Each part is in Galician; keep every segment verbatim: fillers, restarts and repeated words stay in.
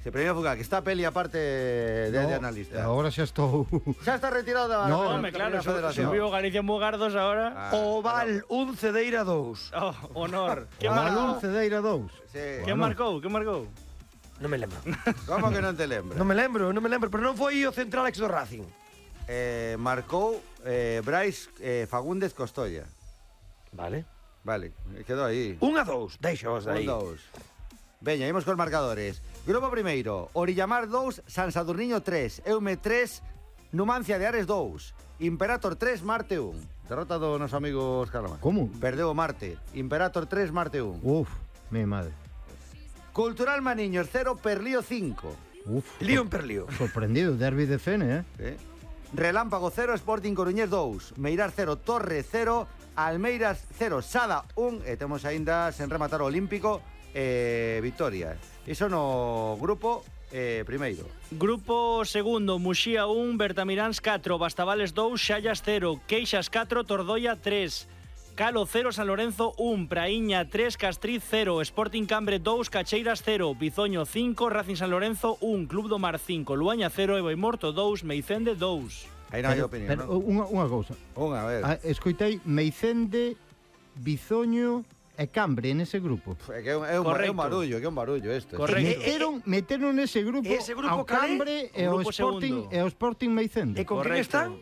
Se premio Fugal, que está Peli aparte de, no, de analista. Ahora xa estou... Xa está retirado da no, no, me claro, subiu Galicia Mugardos agora. Ah, Oval un, Cedeira dous. Oh, honor. Que Oval un, marcou? Cedeira dous. Sí. Que marcou? Que marcou? Non me lembro. Como que non te lembras? Non me lembro, non me lembro, pero non foi o central ex do Racing. Eh, marcou eh, Brais eh, Fagúndez Costolla. Vale. Vale, quedou aí. Un a dous, deixaos Un, aí. dous. Veña, imos cos marcadores. Grupo primeiro, Orillamar dous, San Sadurniño tres, Eume tres, Numancia de Ares dous, Imperator tres, Marte un. Derrota do noso amigo Óscar Lama. Como? Perdeu o Marte. Imperator tres, Marte un. Uf, mi madre. Cultural Maniños cero, Perlío cinco. Uf, Lío en Perlío. sorprendido, derbi de Fene, eh? ¿Eh? Relámpago cero, Sporting Coruñés dous, Meirar cero, Torre cero, Almeiras cero, Sada un, e temos aínda sen rematar o Olímpico eh, Victoria. Iso no grupo eh, primeiro. Grupo segundo, Muxía un, Bertamiráns catro, Bastavales dous, Xallas cero, Queixas catro, Tordoia tres, Calo cero, San Lorenzo un, Praíña tres, Castriz cero, Sporting Cambre dous, Cacheiras cero, Bizoño cinco, Racing San Lorenzo un, Club do Mar cinco, Luaña cero, e Boimorto dous, Meicende dous. Aí non hai Pero, opinión, pero non? unha, unha cousa. Unha, a ver. Ah, escoitei Meicende, Bizoño e Cambre nese grupo. É que é un, é un, é un barullo, que é un barullo isto. Correcto. Meteron, meteron nese grupo, Ese grupo ao cal é? Cambre e ao Grupo Sporting segundo. e ao Sporting Meicende. E con quen están?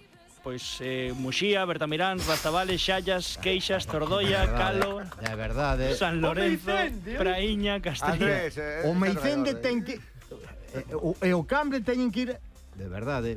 Pois eh, Muxía, Bertamiráns, Bastavales, Xallas, Queixas, Tordoia, Calo, De verdade. San Lorenzo, Praíña, Castriz. Andrés, eh, O Meicende eh. ten que e o, e o Cambre teñen que ir de verdade,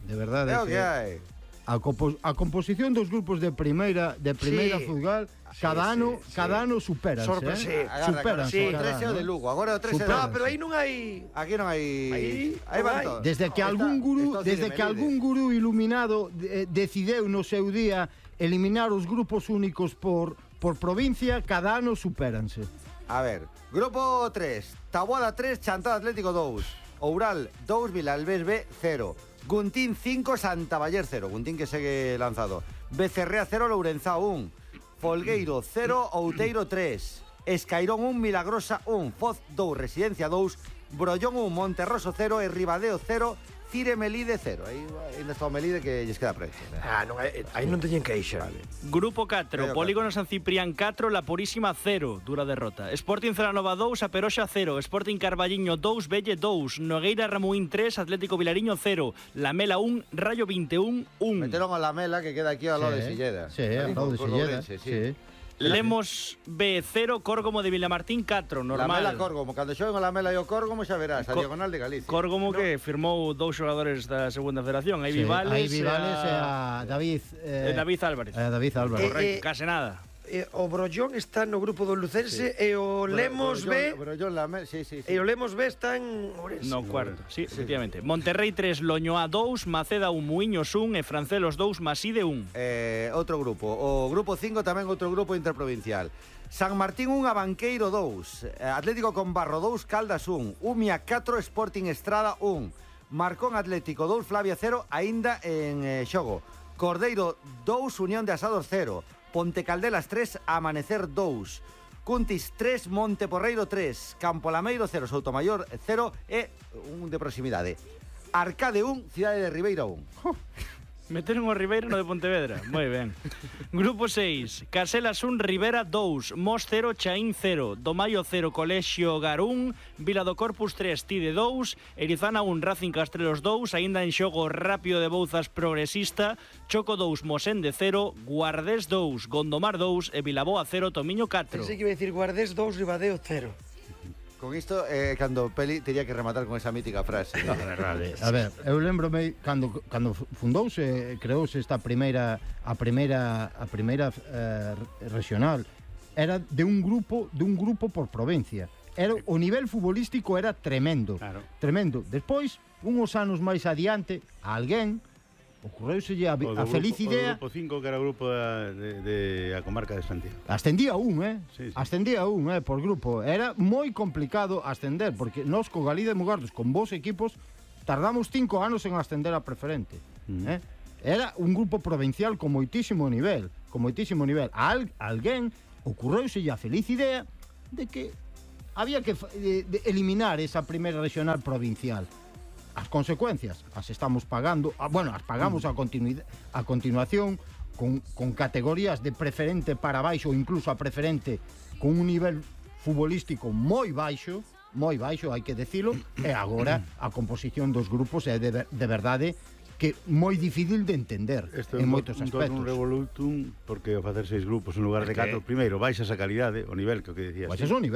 de verdade. É o que hai. A, compo a composición dos grupos de primeira de primeira Sí. futbol cada sí, ano sí. cada ano superan, Sorpre- sí. eh? Agarra, Superan, sí, o cada tres é o ano. de Lugo, agora o tres é Supera. No, de... pero aí non hai... Aquí non hai... Aí Aí non van hai. todos. Desde que Está- algún gurú, está o desde Cine que Melide. algún gurú iluminado eh, decideu no seu día eliminar os grupos únicos por por provincia, cada ano supéranse. A ver, grupo tres, Taboada tres, Chantada Atlético dous, Oural dous, Vilalbés B cero, Guntín cinco, Santa Baller cero, Guntín que segue lanzado, Becerrea cero, Lourenzá un, Folgueiro cero, Outeiro tres, Escairón un, Milagrosa un, Foz dous, Residencia dous, Brollón un, Monterroso cero e Ribadeo cero, Cire Melide cero. Aí ainda está o Melide que lles queda preto. Ah, non, hai- aí non teñen queixa. Vale. Grupo catro, Medio Polígono San Ciprián catro, La Purísima cero, dura derrota. Sporting Celanova dous, Aperoxa cero, Sporting Carballiño dous, Belle dous, Nogueira Ramuín tres, Atlético Vilariño cero, Lamela un, Rayo veintiún un. Meteron a la Mela que queda aquí ao lado de Sí, Silleda. Sí, Aí ao lado de por Silleda. Ourense, Sí. Lemos B cero, Córgomo de Vilamartín catro, La normal. Mela Córgomo, cando xoen o La Mela e o Córgomo xa verás, a Co- diagonal de Galicia. Córgomo que firmou dous xogadores da segunda federación, aí Sí, Vivales, aí Vivales e a David eh, e David Álvarez. e a David Álvarez. Eh, Correcto, case nada. Eh, o Brollón está no grupo do Lucense e o Lemos B Pero yo la me... sí, sí, sí. e o Lemos B está en Ourense. No cuarto, sí, efectivamente. Monterrey tres, Loñoa dous, Maceda un, Muiños un e Francelos dous, Maside un. Eh, outro grupo. O grupo cinco tamén outro grupo interprovincial. San Martín un, Abanqueiro dous, Atlético Combarro dous, Caldas un, Umia catro, Sporting Estrada un, Marcón Atlético dous, Flavia cero, aínda en eh, xogo. Cordeiro dous, Unión de Asados cero, Ponte Caldelas tres, Amanecer dous, Cuntis tres, Monte Porreiro tres, Campolameiro cero, Soutomayor cero e un de proximidade. Arcade un, Cidade de Ribeira un. Meteron o Ribeiro no de Pontevedra. Moi ben. Grupo seis, Caselas un, Rivera dous, Mos cero, Chaín cero, Domaio cero, Colexio Garún, Vila do Corpus tres, Tide dous, Erizana un, Racing Castrelos dous, aínda en xogo Rápido de Bouzas Progresista, Choco dous, Mosende cero, Guardés dous, Gondomar dous e Vilaboa cero, Tomiño catro. Pensei que iba a decir Guardés dous, Ribadeo cero. Con isto, eh, cando Peli tería que rematar con esa mítica frase. A ver, a ver, eu lembrome cando cando fundouse, creouse esta primeira a primeira a primeira eh, regional era de un grupo, de un grupo por provincia. Era o nivel futbolístico era tremendo. Claro. Tremendo. Despois, uns anos máis adiante, a alguén ocorreuselle a, a feliz idea. O grupo cinco, que era o grupo da, de, de a comarca de Santiago. Ascendía un, eh? Sí, sí. Ascendía un, eh, por grupo. Era moi complicado ascender, porque nós co Galí de Mugardos, con vos equipos, tardamos cinco anos en ascender a preferente. Mm. Eh? Era un grupo provincial con moitísimo nivel, con moitísimo nivel. A al, alguén ocorreuselle a feliz idea de que había que de, de eliminar esa primeira regional provincial. As consecuencias as estamos pagando, ah, bueno, as pagamos a, continuidade, a continuación con, con categorías de preferente para baixo ou incluso a preferente con un nivel futbolístico moi baixo, moi baixo, hai que decilo, e agora a composición dos grupos é de, de verdade que moi difícil de entender Isto en é un, moitos un, aspectos. un revolutum porque ao facer seis grupos en lugar de É que- catro, primeiro baixas a calidade, o nivel que o que decías. Pois é un nivel